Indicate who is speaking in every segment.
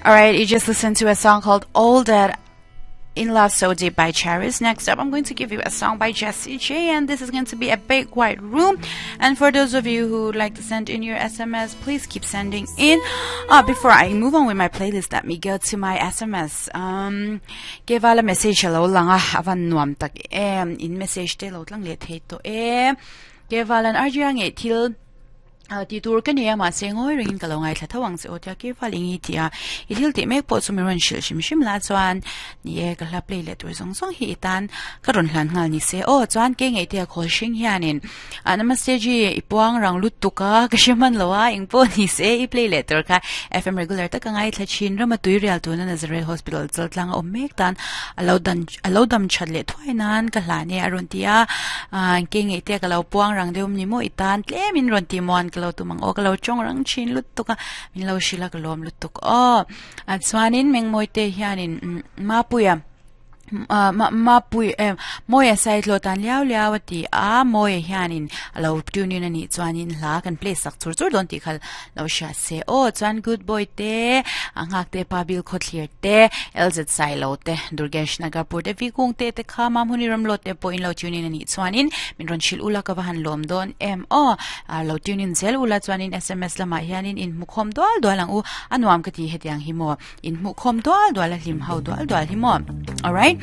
Speaker 1: Alright, you just listened to a song called All That in Love So Deep by Charis. Next up, I'm going to give you a song by Jessie J, and this is going to be a big white room. And for those of you who would like to send in your SMS, please keep sending in. Uh, before I move on with my playlist, let me go to my SMS. Um, give a message hello langa avan nuam tak em in message te lo tlang le thei to e kevalan arjia nge thil Tih tur ka nei a, mahse ngawi rengin ka lo ngaithla tho ang che aw tia Keifal eng i tih a, i thil tih mek pawh chu mi rawn hrilh hrim hrim la chuan ni e ka hla play leh tur zawng zawng hi i tan ka rawn hlan nghal ni se aw chuan kei ngaihtea khawl hring hianin ah namaste ji i puang rang lut tuk a ka hre hman lo a eng pawh ni se i play leh tur kha FM regular taka ngaithla thin rama tui rial tuna Nazareth Hospital chaltlang a awm mek tan a lo dan A lo dam that leh thuai nan ka hlan e a rawn ti a, aah ke ngeih te ka lo puang rang deuh ni maw i tan tlem in rawn ti muan ka lo tum ang aw ka lo tawng rang thin lutuk a min lo hrilh a ka lawm lutuk aw ah chuanin Mengmawi te hianin Mapuia ah Mapui em Mawia Saitlaw tan liau liau a ti a Mawia hianin a lo tune in a nih chuanin hla kan play sak chur chur dawn tih kha lo hria se aw chuan good boy te a nghak te pa bil khawthlir te, LZ Sailo te, Durgesh Nagarpur te, V Kung te te kha Mamhuni Ramlawt te pawh in lo tune in a nih chuanin min rawn hrilh ula ka va han lawm dawn em aw. Lo tune in zel ula chuanin sms lamah hianin in hmukhawm dual dual ang u, a nuam ka ti hetiang hi maw, in hmuhkhawm dual dual a hlim ho dual dual hi maw. Alright,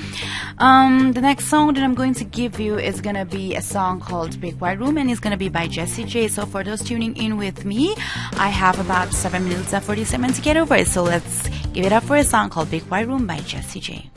Speaker 1: um, the next song that I'm going to give you is gonna be a song called Big White Room and it's gonna be by Jessie J. So for those tuning in with me, I have about 7 minutes and 47 to get over it. So let's Give it up for a song called Big White Room by Jessie J.